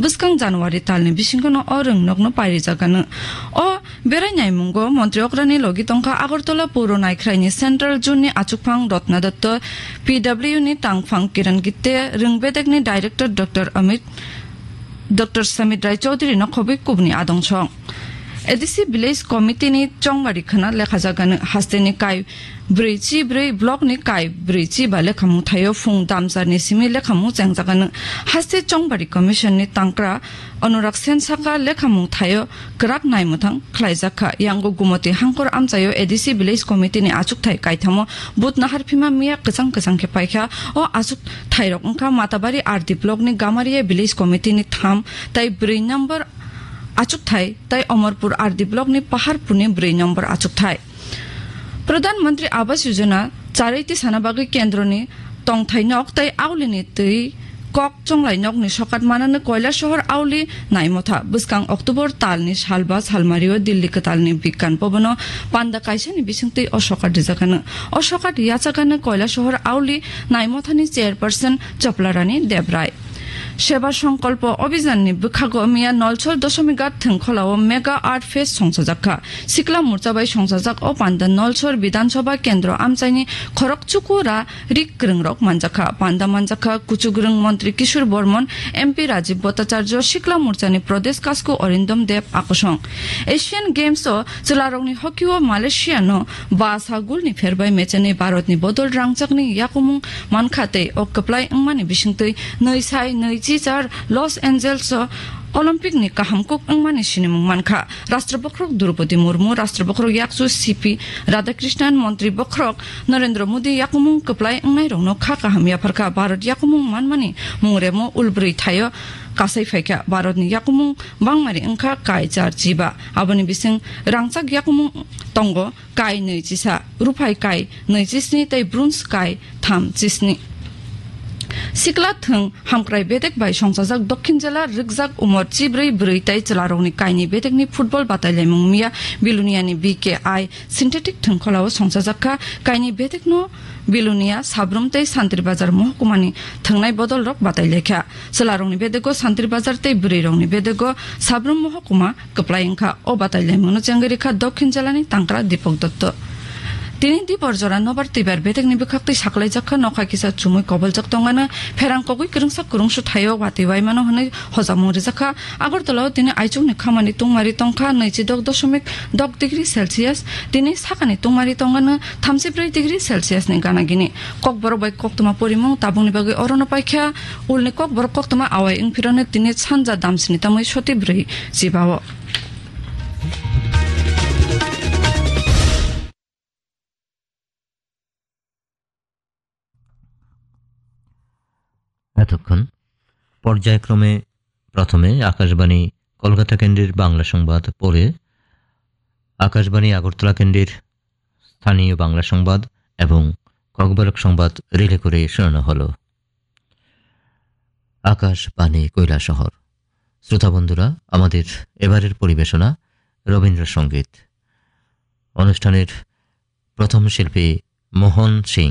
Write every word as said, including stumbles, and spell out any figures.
bwskang January talni bisingono o rwngnokno pairijakgano. O berai naimungo montri okrani logi tongkha Agartala Puro Naikhraini Central Zone ni achukphang Ratna Dutta, P W ni tangphang Kiran Gitte, rwng bedekni director Doctor Amit, Doctor Samit Rai Chaudhary no khobwi kubuni adong song. A D C Village Committee ni chongbari khwna lekhajagano hasteni kai brwi chi brwi block ni kai brwi chi ba lekhamung thaio phung damsar ni simi lekhamung chengjagano. Haste chongbari commission ni tangkra Anurag Sen saka lekhamung thaio kwrak naimwthang khlaijakha. Yango Gumoti Hangkor amchaio A D C Village Committee ni achukthai kaithamo but nahar phima miya kwchang kwchang khe paikha. O achuk thairok wngkha Matabari R D block ni Gamaria Village Committee ni tham tai brwi number achukthai tai Omorpur R D block ni Paharpur ni brwi number achukthai. Pradhan Mantri Awas Yojana charwi tisana bagwi kendroni tongthai nok tai aulini twi kok chonglai nokni sokat manano Koilasohor auli naimotha. Bwskang October talni salba salmario Delhi kwtalni Bigyan Bhavan-o panda kaisani bisingtwi o sokat rijakano. O sokat yachakano Koilasohor auli naimothani chairperson Choplarani Debrai. Seba Songkolpo Obhijanni bwkhago miya Nolsor Doshomighat thwngkholao Mega Art Fest songchajakha. Sikla morcha bai songchajak o panda Nolsor Bidhan Sabha Kendro amchaini khorok chuku ra rik kwrwngrok manjakha. Panda manjakha kuchukrwng montri Kishore Bormon, M P Rajiv Bhattacharya, Sikla Morchani Pradesh Kasku Arindam Deb akosong. Asian Games o chwlarokni hockey o Malaysia no ba sa goal ni pherbai mechani Bharat ni bodol rangchakni yakumung mankha tei o kwplai wngmani bisingtwi nwi sai nwi chi char Los Angeles o Olympic ni kaham kuk wngmani sinimung mankha. Rashtra Bokhorok Droupadi Murmu, Rashtra Bokhorok Yakchu C P Radhakrishnan, Montri Bokhorok Narendra Modi yakumung kwplai wngnairokno kha kaham yapharkha. Bharat yakumung manmani mung remo ulbrwi thaio kasai phaikha. Bharatni yakumung bangmari wngkha kai char chiba. Aboni bising rangchak yakumung tongo kai nwi chisa, ruphai kai nwi chisni tei bronze kai tham chisni. Sikla thwng hamkrai bedek bai songchajak Dokhin jela rwkjak umor chibrwi bwrwi tei chwlarokni kaini bedekni football batailaimung miya Biluniani B K I synthetic thwngkholao songchajak kha. Kaini bedekno Bilunia, Sabrum tei Santri Bazar mohkumani thwngnai bodolrok batailaikha. Chwlarokni bedego Santri Bazar tei bwrwirokni bedego Sabrum mohkuma kwplai wngkha. O batailaimungno chengwi rikha Dokhin jelani tangkra Dipok Dotto. Tini dibor jora nobar twibar bedekni bwkhaktwi saklaijak kha, nokha kisa chumui koboljak tongmano, pherang kogwi kwrwngsa kwrwngsu thaio watwi waimano hwnwi hojamung rijak kha. Agartala o tini aichukni khamani tungmari tongkha nwichi dok doshomik dok degree Celsius, tini sakani tungmari tongmano thamchi brwi degree Celsius ni gana gini. Kokborok bai koktwma porimung tabukni bagwi orono paikha. Ulni kokborok koktwma awai wngphirano tini sanja damsini tamwi soti brwi chibao. এতক্ষণ পর্যায়ক্রমে প্রথমে আকাশবাণী কলকাতা কেন্দ্রের বাংলা সংবাদ, পরে আকাশবাণী আগরতলা কেন্দ্রের স্থানীয় বাংলা সংবাদ এবং ককবরক সংবাদ রিলে করে শোনানো হলো। আকাশবাণী কৈলাসহর। শ্রোতা বন্ধুরা, আমাদের এবারের পরিবেশনা রবীন্দ্রসঙ্গীত। অনুষ্ঠানের প্রথম শিল্পী মোহন সিং।